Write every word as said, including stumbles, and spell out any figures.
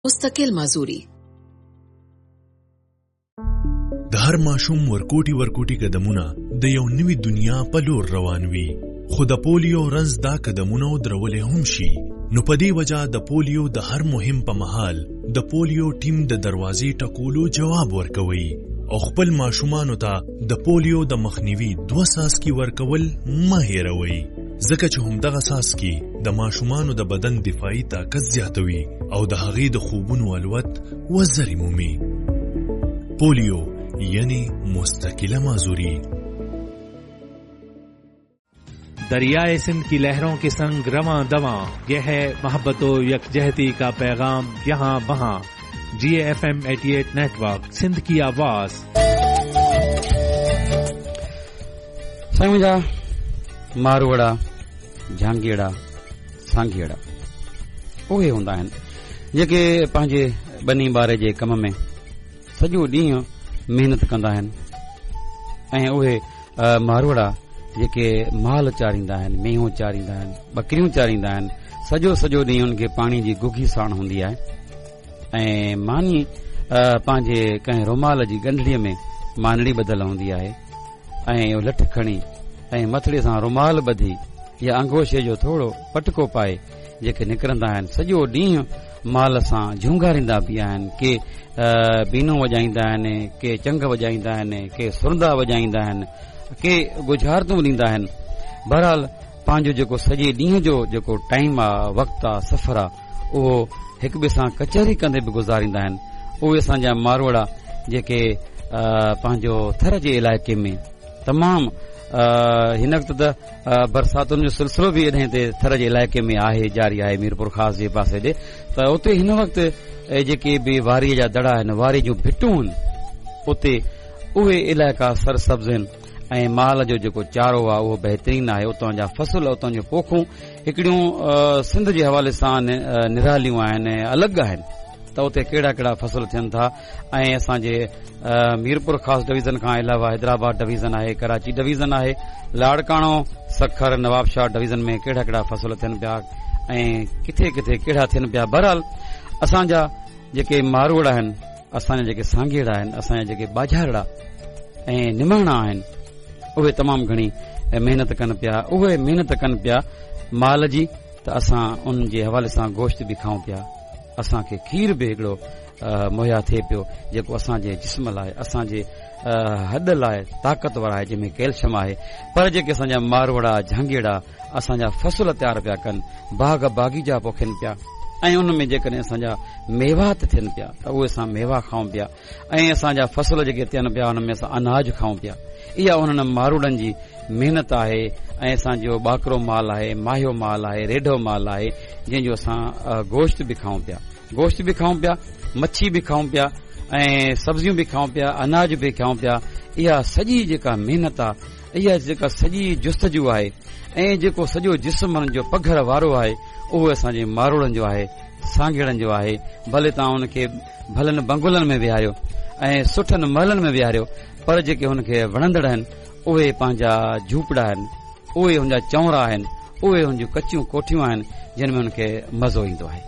मुस्तकिल माजूरी। د هر ماشوم ورکوټي ورکوټي قدمونه د یو نوي دنیا په لور روان وي، خو د پولیو رنځ دا قدمونه درولې هم شي. نو په دې وجه د پولیو د هر مهم په مهال د پولیو ټیم د دروازې ټکولو جواب ورکوي او خپل ماشومانو ته د پولیو د مخنیوي دوه څاڅکي ورکول مه هېروئ، ځکه چې همدغه څاڅکي د ماشومانو د بدن دفاعي طاقت زیاتوي او د هغې د خوبونو الوت وزرې مومي. پولیو یعنی مستقله معذوري. दरियाए सिंध की लहरों के संग रवां दवां, यह है मोहब्बत यकजहती का पैगाम यहाँ वहाँ। जी एफ एम अठासी नेटवर्क, सिंध की आवाज। साईं मुंहिंजा मारूअड़ा, झांगीअड़ा, सांघीअड़ा उहे हूंदा आहिनि जेके पंहिंजे ॿनी ॿारे जे कम में सॼो ॾींहुं महिनत कंदा आहिनि ऐं उहे मारूअड़ा जेके माल चारींदा आहिनि, मेहूं चारींदा आहिनि, बकरियूं चारींदा आहिनि, सॼो सॼो ॾींहुं उनखे पाणी जी गुघी साण हूंदी आहे ऐं मानी पंहिंजे कंहिं रुमाल जी ॻंढड़ीअ में मानड़ी ॿधल हूंदी आहे ऐं उहो लठ खणी ऐं मथड़े सां रुमाल ॿधी या अंगोशे जो थोरो पटको पाए जेके निकिरंदा आहिनि, सॼो ॾींहुं माल सां झूंगारींदा बि आहिनि। के बीनू वॼाईंदा आहिनि, के चंग वॼाईंदा आहिनि, के सुरंदा वॼाईंदा आहिनि, के गुझारतूं ॾींदा आहिनि। बहरहाल पंहिंजो जेको सॼे ॾींहं जो जेको टाइम आहे, वक़्तु आहे, सफ़र आहे, उहो हिक ॿिए सां कचहरी कंदे बि गुज़ारींदा आहिनि। उहे असांजा मारूअड़ा जेके पंहिंजो थर जे इलाइक़े में तमामु हिन वक़्तु त बरसातुनि जो सिलसिलो बि एॾे ते थर जे इलाइक़े में आहे, जारी आहे, मीरपुर ख़ास जे पासे ॾे, त उते हिन वक़्तु जेके बि वारीअ जा दड़ा आहिनि, वारी जूं भिटूं आहिनि, उते उहे इलाइक़ा सरसब्ज़ आहिनि ऐं माल जो जेको चारो आहे उहो बहितरीन आहे। उतां जा फसल, उतां जूं पोखूं हिकिड़ियूं सिंध जे हवाले सां निरालियूं आहिनि, अलॻि आहिनि। त उते कहिड़ा कहिड़ा फसल थियनि था ऐं असांजे मीरपुर ख़ास डिवीज़न खां अलावा हैदराबाद डिवीज़न आहे, कराची डिवीज़न आहे, लाड़काणो, सखर, नवाबशाह डिवीज़न में कहिड़ा कहिड़ा फसल थियनि पिया ऐं किथे किथे कहिड़ा थियनि पिया। बहरहाल असांजा जेके मारूअड़ा आहिनि, असांजा जेके सांघेड़ा आहिनि, असांजा जेके बाझारड़ा ऐं निमाणा आहिनि, उहे तमामु घणी महिनत कनि पिया। उहे महिनत कनि पिया माल जी, त असां उन जे हवाले सां गोश्त बि खाऊं पिया, असांखे खीर बि हिकिड़ो मुहैया थिए पियो जेको असांजे जिस्म लाइ, असांजे हॾ लाइ ताक़तवर आहे, जंहिंमें कैल्शियम आहे। पर जेके असांजा मारूअड़ा, झांगीअड़ा असांजा फसल तयारु पिया कनि, बाग़ बाग़ीचा पोखनि पिया ऐं उन में जेकॾहिं असांजा मेवात थियनि पिया त उहे असां मेवा खाऊं पिया ऐं असांजा फसल जेके थियनि पिया उन में असां अनाज खाऊं पिया। इहा उन्हनि मारूड़नि जी महिनत आहे ऐं असांजो ॿाकरो माल आहे, माहियो माल आहे, रेढो माल आहे, जंहिंजो असां गोश्त बि खाऊं पिया, गोश्त बि खाऊं पिया, मच्छी बि खाऊं पिया ऐं सब्ज़ियूं बि खाऊं पिया, अनाज बि खाऊं पिया। इहा सॼी जेका महिनत आहे, इहा जेका सॼी जुस्तजू आहे ऐं जेको सॼो जिस्म हुननि जो पघर वारो आहे, उहो असांजे मारूड़नि जो आहे, सांघेड़नि जो आहे। भले तव्हां हुनखे भलनि बंगुलनि में विहारियो ऐं सुठनि महलनि में विहारियो, पर जेके हुनखे वणंदड़ आहिनि उहे पंहिंजा झूपड़ा आहिनि, उहे हुनजा चौरा आहिनि, उहे हुनजूं कचियूं कोठियूं आहिनि, जिन में हुनखे मज़ो ईंदो आहे।